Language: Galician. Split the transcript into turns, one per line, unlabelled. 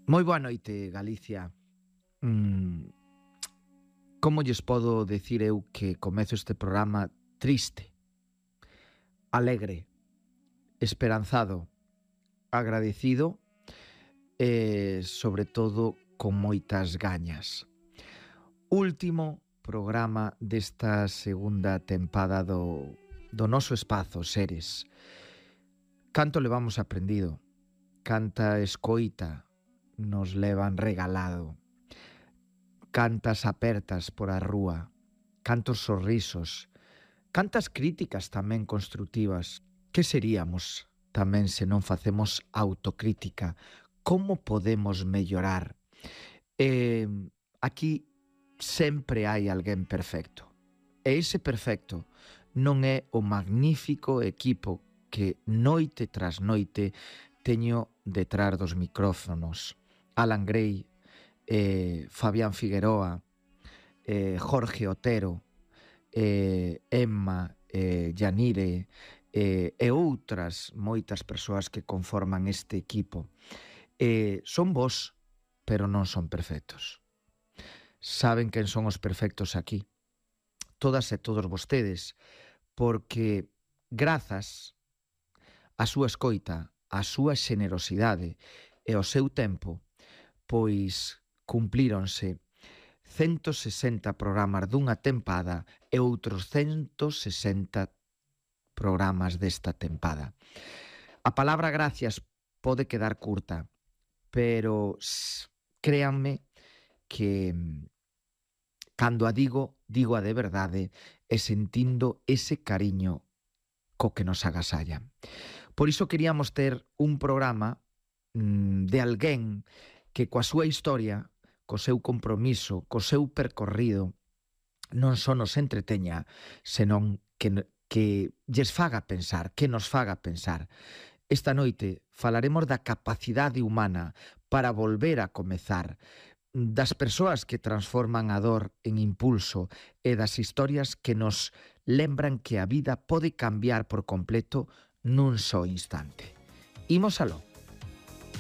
Moi boa noite, Galicia. Como lles podo decir eu que comezo este programa triste, alegre, esperanzado, agradecido e, sobre todo, con moitas gañas. Último programa desta segunda tempada do noso espazo, Seres. Canto levamos aprendido, canta escoita nos levan regalado, cantas apertas por a rúa, cantos sorrisos, cantas críticas tamén constructivas. Que seríamos tamén se non facemos autocrítica? Como podemos mellorar? Aquí sempre hai alguén perfecto. E ese perfecto non é o magnífico equipo que noite tras noite teño detrás dos micrófonos. Alan Gray, Fabián Figueroa, Jorge Otero, Emma, Yanire e outras moitas persoas que conforman este equipo. Son vos, pero non son perfectos. Saben quen son os perfectos aquí. Todas e todos vostedes, porque grazas á súa escoita, á súa xenerosidade e ao seu tempo, pois cumplíronse 160 programas dunha tempada e outros 160 programas desta tempada. A palabra gracias pode quedar curta, pero créanme que cando a digo a de verdade e sentindo ese cariño co que nos agasalla. Por iso queríamos ter un programa de alguén que coa súa historia, co seu compromiso, co seu percorrido, non só nos entreteña, senón que lles faga pensar, que nos faga pensar. Esta noite falaremos da capacidade humana para volver a comezar, das persoas que transforman a dor en impulso e das historias que nos lembran que a vida pode cambiar por completo nun só instante. Imos aló.